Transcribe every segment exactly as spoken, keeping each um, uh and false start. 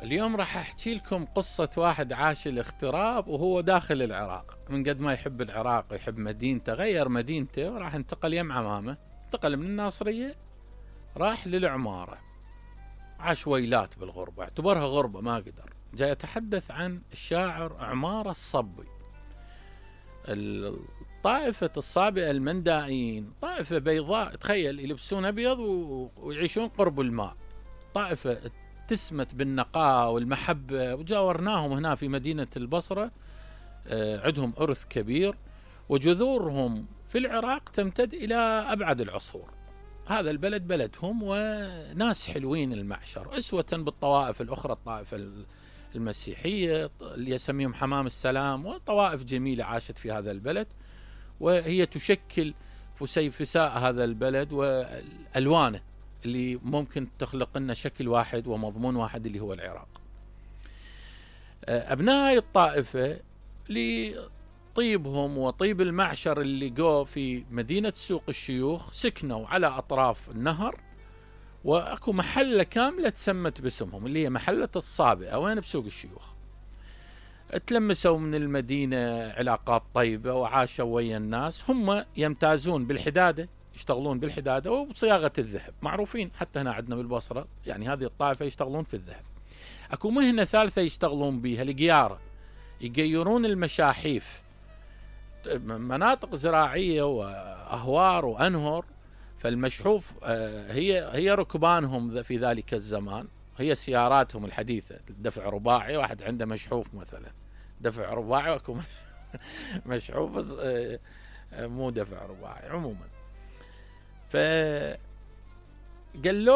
اليوم راح احكي لكم قصة واحد عاش الاغتراب وهو داخل العراق. من قد ما يحب العراق ويحب مدينته غير مدينته وراح انتقل يم عمامه. انتقل من الناصرية راح للعمارة، عاش ويلات بالغربة، اعتبرها غربة ما قدر. جاي يتحدث عن الشاعر عمارة الصبي. الطائفة الصابئة المندائيين طائفة بيضاء، تخيل يلبسون أبيض ويعيشون قرب الماء، طائفة تسمت بالنقاء والمحبة، وجاورناهم هنا في مدينة البصرة. عندهم إرث كبير وجذورهم في العراق تمتد إلى أبعد العصور. هذا البلد بلدهم وناس حلوين المعشر، أسوة بالطوائف الأخرى، الطائفة المسيحية اللي يسميهم حمام السلام، وطوائف جميلة عاشت في هذا البلد، وهي تشكل فسيفساء هذا البلد والألوانه اللي ممكن تخلق لنا شكل واحد ومضمون واحد اللي هو العراق. أبناء هاي الطائفة لطيبهم وطيب المعشر اللي جو في مدينة سوق الشيوخ سكنوا على أطراف النهر، وأكو محلة كاملة تسمت باسمهم اللي هي محلة الصابئة، وين بسوق الشيوخ. تلمسوا من المدينة علاقات طيبة وعاشوا ويا الناس. هم يمتازون بالحدادة، يشتغلون بالحدادة وبصياغة الذهب، معروفين حتى هنا عندنا بالبصرة، يعني هذه الطائفة يشتغلون في الذهب. اكو مهنة ثالثة يشتغلون بها، القيارة، يقيرون المشاحيف، مناطق زراعية وأهوار وأنهر، فالمشحوف هي هي ركبانهم في ذلك الزمان، هي سياراتهم الحديثة، دفع رباعي، واحد عنده مشحوف مثلا دفع رباعي، واكو مشحوف مو دفع رباعي عموما. فقالوا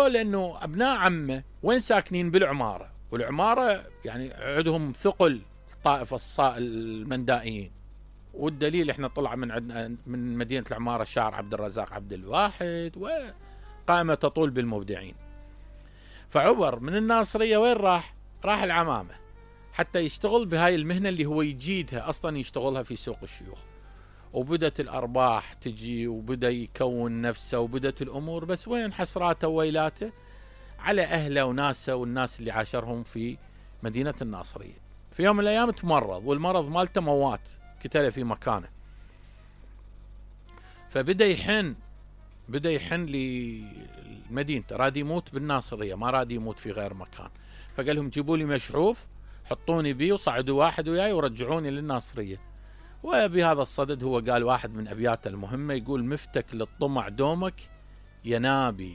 له انه ابناء عمه وين ساكنين بالعمارة، والعمارة يعني عندهم ثقل الطائفة المندائيين، والدليل احنا طلع من عندنا من مدينة العمارة الشاعر عبد الرزاق عبد الواحد، وقائمة تطول بالمبدعين. فعبر من الناصرية وين راح؟ راح العمامة حتى يشتغل بهاي المهنة اللي هو يجيدها أصلا، يشتغلها في سوق الشيوخ. وبدت الأرباح تجي وبدأ يكون نفسه وبدت الأمور، بس وين حسراته وويلاته على أهله وناسه والناس اللي عاشرهم في مدينة الناصرية. في يوم من الأيام تمرض، والمرض مالته موات، كتله في مكانه. فبدأ يحن بدأ يحن لمدينته، راد يموت بالناصرية، ما راد يموت في غير مكان. فقال لهم جيبوا لي مشحوف، حطوني بيه وصعدوا واحد وياي ورجعوني للناصرية. وبهذا الصدد هو قال واحد من أبياته المهمة، يقول: مفتك للطمع دومك يا نابي